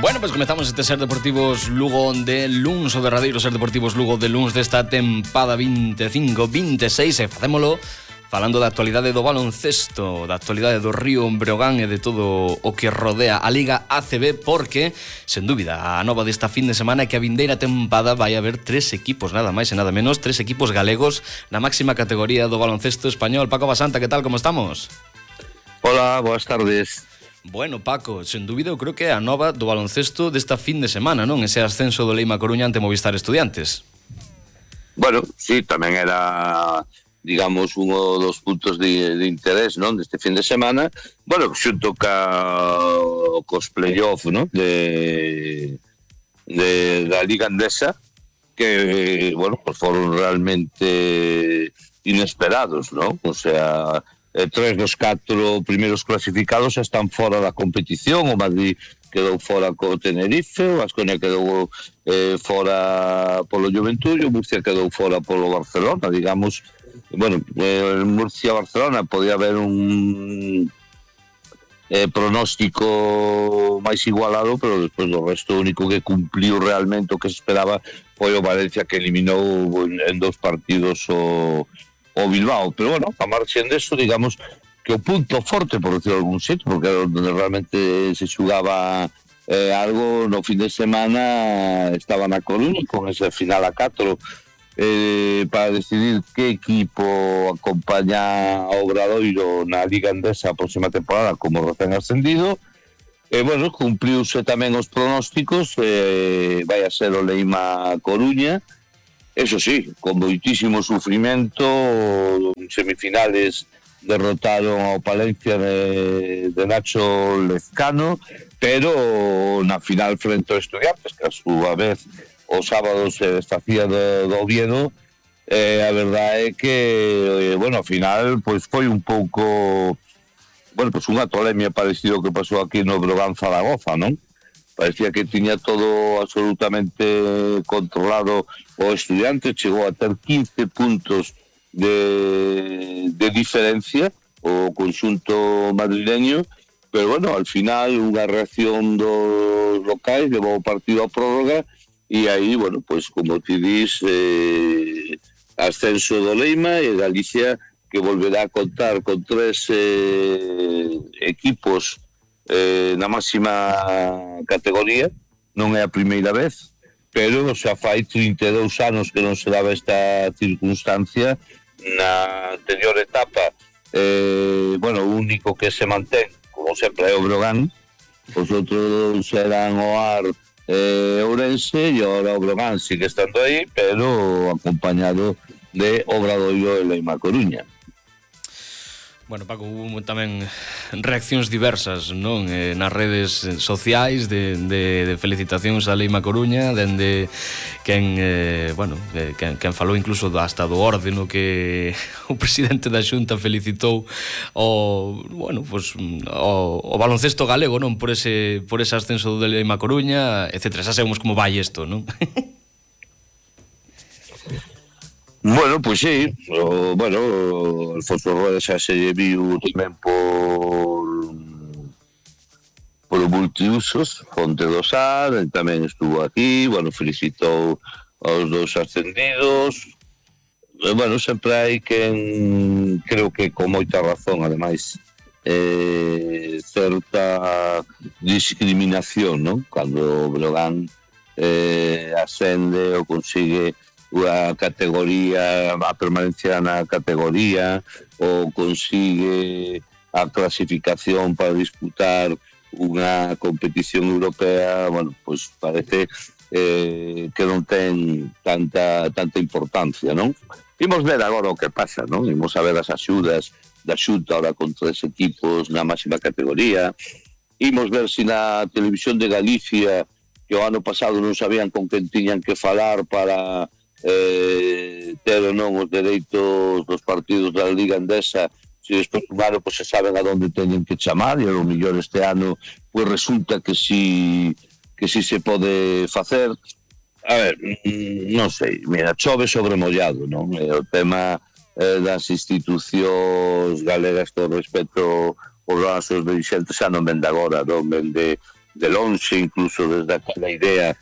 Bueno, pues comezamos este Ser Deportivos Lugo de luns, o derradeiro Ser Deportivos Lugo de luns desta tempada 25-26, e facémolo falando da actualidade do baloncesto, da actualidade do Río Breogán e de todo o que rodea a Liga ACB, porque, sen dúbida, a nova desta fin de semana é que a vindeira tempada vai haber 3 equipos, nada máis e nada menos, 3 equipos galegos na máxima categoría do baloncesto español. Paco Basanta, que tal, como estamos? Hola, boas tardes. Bueno, Paco, sen dúbida eu creo que é a nova do baloncesto desta fin de semana, non? Ese ascenso do Leima Coruña ante Movistar Estudiantes. Bueno, sí, tamén era, digamos, uno dos puntos de interés, non? Deste fin de semana. Bueno, xunto cos play-off, non? Da Liga Andesa, que, bueno, pues foron realmente inesperados, non? O sea, 3 dos 4 primeiros clasificados están fora da competición. O Madrid quedou fora co Tenerife, o Baskonia quedou fora polo Juventud, o Murcia quedou fora polo Barcelona, digamos. Bueno, Murcia-Barcelona podía haber un pronóstico máis igualado, pero despois do resto o único que cumpliu realmente o que se esperaba foi o Valencia, que eliminou en 2 partidos o Bilbao. Pero bueno, a marxen deso, digamos que o punto forte, por decirlo de algún sitio, porque era onde realmente se xugaba algo no fin de semana, estaba na Coruña con ese final a 4 para decidir que equipo acompaña ao Obradoiro na Liga Andesa a próxima temporada como recén ascendido. Bueno, cumpliuse tamén os pronósticos, vai a ser o Leima Coruña. Eso sí, con moitísimo sufrimento. En semifinales derrotaron ao Palencia de Nacho Lezcano, pero na final frente aos Estudiantes, que a súa vez o sábado se desfacía do Oviedo, a verdade é que, bueno, ao final pois foi un pouco, bueno, pois unha tolemia parecido que pasou aquí no Brogan Zaragoza, non? Parecía que tiña todo absolutamente controlado o Estudiante, chegou a ter 15 puntos de diferencia o conxunto madrileño, pero bueno, al final unha reacción dos locais levou o partido a prórroga e aí, bueno, pues como ti dis, ascenso do Leima e Galicia, que volverá a contar con 3 equipos na máxima categoría. Non é a primeira vez, pero xa fai 32 anos que non se daba esta circunstancia. Na anterior etapa, bueno, o único que se mantén, como sempre, é o Brogan. Os outros eran o AR Ourense, e agora o Brogan sigue estando aí, pero acompañado de Obradoiro e Leima Coruña. Bueno, Paco, hubo tamén reaccións diversas, non? Nas redes sociais de felicitacións a Leima Coruña, dende quen, bueno, quen falou incluso hasta do orde no que o presidente da Xunta felicitou bueno, pues, o baloncesto galego, non? Por ese ascenso do Leima Coruña, etc. Xa sabemos como vai isto, non? Bueno, pois sí, bueno, Alfonso Rueda xa se viu tamén por o multiusos, Fonte do Sar, tamén estuvo aquí, bueno, felicitou aos 2 ascendidos. Bueno, sempre hai quen, creo que con moita razón, ademais, certa discriminación, non? Cando o Breogán ascende ou consigue a categoría, a permanencia na categoría, ou consigue a clasificación para disputar unha competición europea. Bueno, pois parece que non ten tanta importancia, non? Imos ver agora o que pasa, non? Imos a ver as axudas da Xunta ahora con 3 equipos na máxima categoría. Imos ver se na Televisión de Galicia, que o ano pasado non sabían con quen tiñan que falar para ter ou non os dereitos dos partidos da Liga Andesa, se despois un ano se saben a onde teñen que chamar, e ao mellor este ano pois resulta que si se pode facer. A ver, non sei, mira, chove sobre mollado, non? O tema das institucións galegas, todo respecto os nosos dirigentes, xa non ven de agora, non ven de de lonxe, incluso desde aquela idea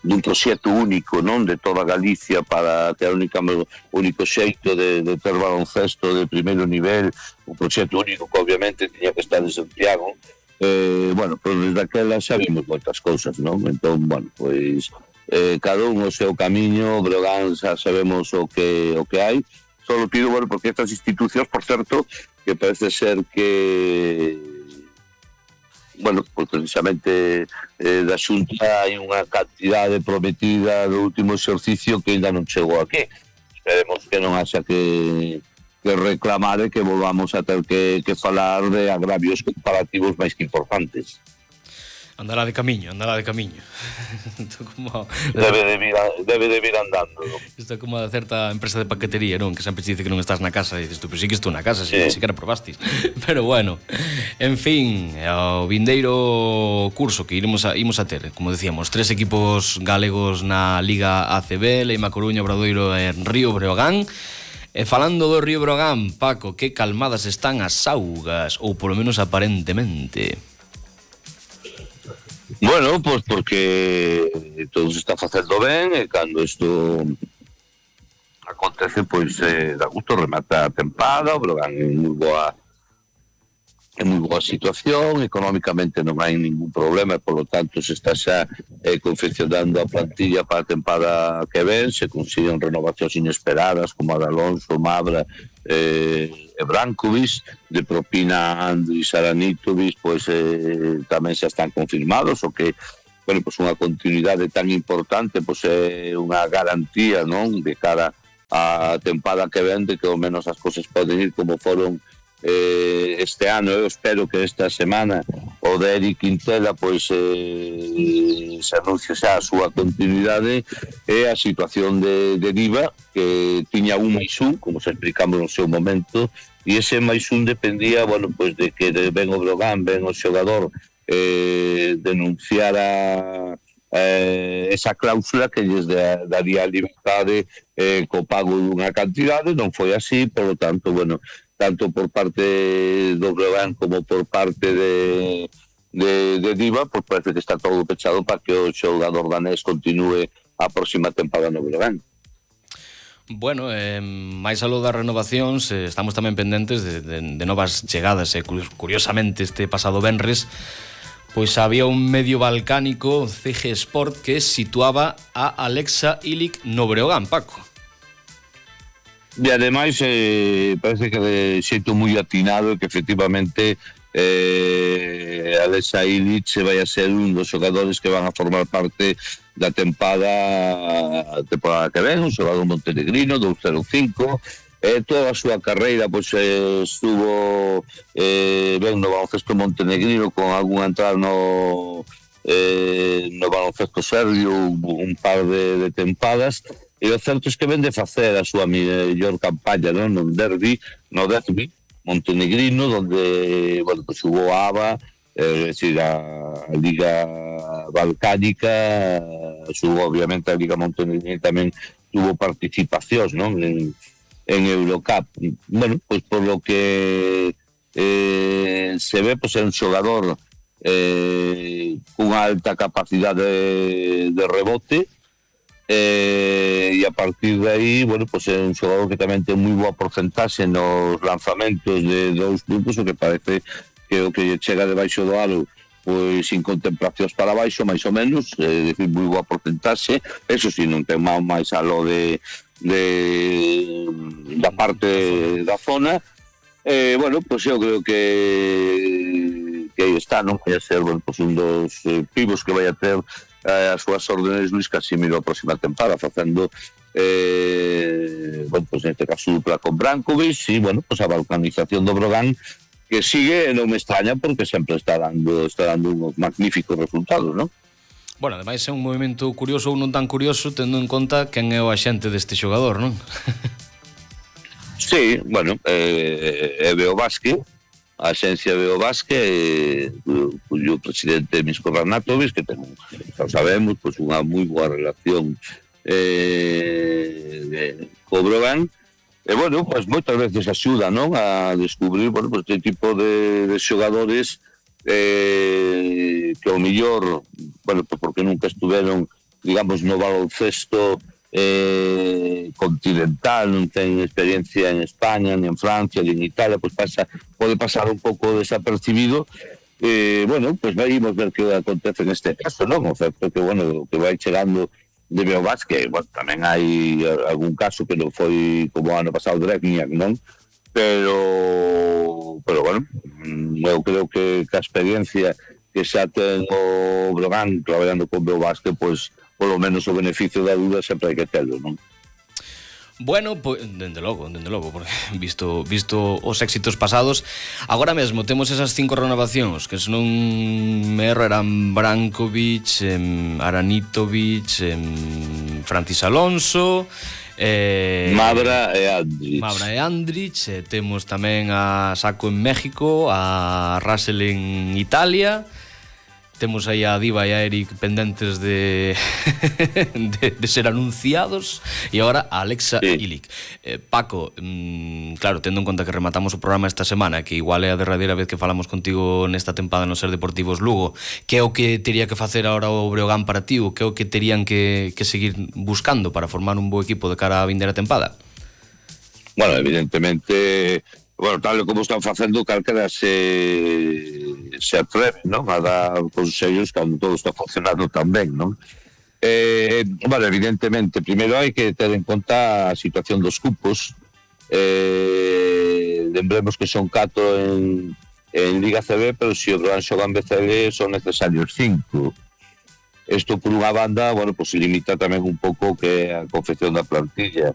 dun proxecto único, non, de toda Galicia, para que era o único xeito de ter baloncesto de primeiro nivel, un proxecto único que obviamente tiña que estar en Santiago. Bueno, pois desde aquela xa vimos moitas cousas, non? Entón, bueno, pois cada un o seu camiño, Breogán xa sabemos o que hai. Solo pido, bueno, porque estas institucións, por certo, que parece ser que, bueno, pues precisamente da Xunta hai unha cantidade prometida do último exercicio que ainda non chegou aquí. Esperemos que non haxa que reclamar e que volvamos a ter que falar de agravios comparativos máis que importantes. Andará de camiño. Debe de vir andando, non? Isto é como a certa empresa de paquetería, non? Que sempre te dice que non estás na casa e dices tú, pero sí que estou na casa, sí. Si que probastis. Pero bueno, en fin, ao vindeiro curso que imos a ter, como decíamos, 3 equipos galegos na Liga ACB, Leima Coruña, Obradoiro e Río Breogán. E falando do Río Breogán, Paco, que calmadas están as augas, ou polo menos aparentemente. Bueno, pois porque todo se está facendo ben e cando isto acontece, pois dá gusto remata a tempada. O Breogán é moi boa situación, económicamente non hai ningún problema, e polo tanto se está xa confeccionando a plantilla para a tempada que ven. Se consiguen renovacións inesperadas como a de Alonso, Mabra e Brankovic, de propina Andris Aranitovic, pois tamén xa están confirmados, o que, bueno, pois unha continuidade tan importante, pois é unha garantía, non, de cara á tempada que ven, de que ao menos as cousas poden ir como foron este ano. Eu espero que esta semana o de Eric Quintela pois se anuncie xa a súa continuidade e a situación de Diva, que tiña un máis un, como se explicamos no seu momento, e ese máis un dependía, bueno, pois de que ven o Breogán, ven o xogador denunciara esa cláusula que lles daría liberdade co pago dunha cantidade. Non foi así, polo tanto, bueno, tanto por parte do Breogán como por parte de Diva, pois parece que está todo pechado para que o xogador danés continúe a próxima tempada no Breogán. Bueno, máis aló das renovacións, estamos tamén pendentes de novas chegadas. Curiosamente, este pasado venres, pois había un medio balcánico, CG Sport, que situaba a Alexa Ilic no Breogán, Paco. E ademais parece que de xeito moi atinado, que efectivamente Alexa Ilic vai a ser un dos xogadores que van a formar parte da tempada que ven, un xogador montenegrino, 205. Toda a súa carreira pois estuvo ben no baloncesto montenegrino, con algunha entrada no baloncesto serbio, un par de tempadas. E o certo é que ven de facer a súa mellor campaña, non, no derbi montenegrino, onde, bueno, pues jugou a ABA, é dicir, a Liga Balcánica, jugou obviamente a Liga Montenegrina, tamén tuvo participacións, non, en Eurocup. Bueno, pues por lo que se ve, pues é un xogador cunha alta capacidade de rebote, e a partir de aí, bueno, pues é un xogador que tamén ten moi boa porcentaxe nos lanzamentos de 2 puntos, o que parece que o que chega debaixo do aro pois sin contemplacións para baixo, máis ou menos, é dicir, moi boa porcentaxe. Eso si, non ten máis aló da parte da zona. Bueno, pues eu creo que aí está, non vai a ser, bueno, pues un dos pivos que vai a ter as súas órdenes Luis Casimiro a próxima tempada, facendo bueno, pues neste caso dupla con Brankovic, e bueno, pues a balcanización do Breogán, que sigue, non me extraña, porque sempre está dando uns magníficos resultados, non? Bueno, ademais é un movimento curioso ou non tan curioso, tendo en conta quen é o axente deste xogador, non? Sí, bueno, é Beobasque, a axencia Beobasque, cuyo presidente Misko Ranatovic, que ten, xa sabemos, pues unha moi boa relación co Breogán, bueno, pues moitas veces axuda, non, a descubrir, bueno, pues este tipo de xogadores que ao millor, bueno, pues porque nunca estuveron, digamos, no baloncesto continental, non ten experiencia en España, ni en Francia, ni en Italia, pues pode pasar un pouco desapercibido. Bueno, pues vamos ver que acontece neste caso, non? O certo que, bueno, que vai chegando de Beobas, que, bueno, tamén hai algún caso que non foi como o ano pasado Dragniak, non? Pero bueno, eu creo que a experiencia que xa ten o Brogan traballando con Beobas, que, pois, polo menos o beneficio da dúda sempre hai que telo, non? Bueno, pois, dende logo, porque visto os éxitos pasados, agora mesmo temos esas 5 renovacións, que se non me erro eran Brankovic, Aranitovic, Francis Alonso, Mavra e Andrich, temos tamén a Sacco en México, a Russell en Italia. Temos aí a Diva e a Eric pendentes de ser anunciados, e agora a Alexa Ilic. Paco, claro, tendo en conta que rematamos o programa esta semana, que igual é a derradeira vez que falamos contigo nesta tempada no Ser Deportivos Lugo, que é o que tería que facer agora o Breogán para ti, o que é o que terían que seguir buscando para formar un bo equipo de cara a vindeira tempada? Bueno, evidentemente, bueno, tal como están facendo, calquera se atreve, non, a dar consellos cando todo está funcionando tan ben, non? Bueno, evidentemente, primeiro hai que ter en conta a situación dos cupos. Lembremos que son 4 en Liga CB, pero se o Brogan xoga en BCL son necesarios 5. Isto por unha banda, bueno, pues limita tamén un pouco que a confección da plantilla.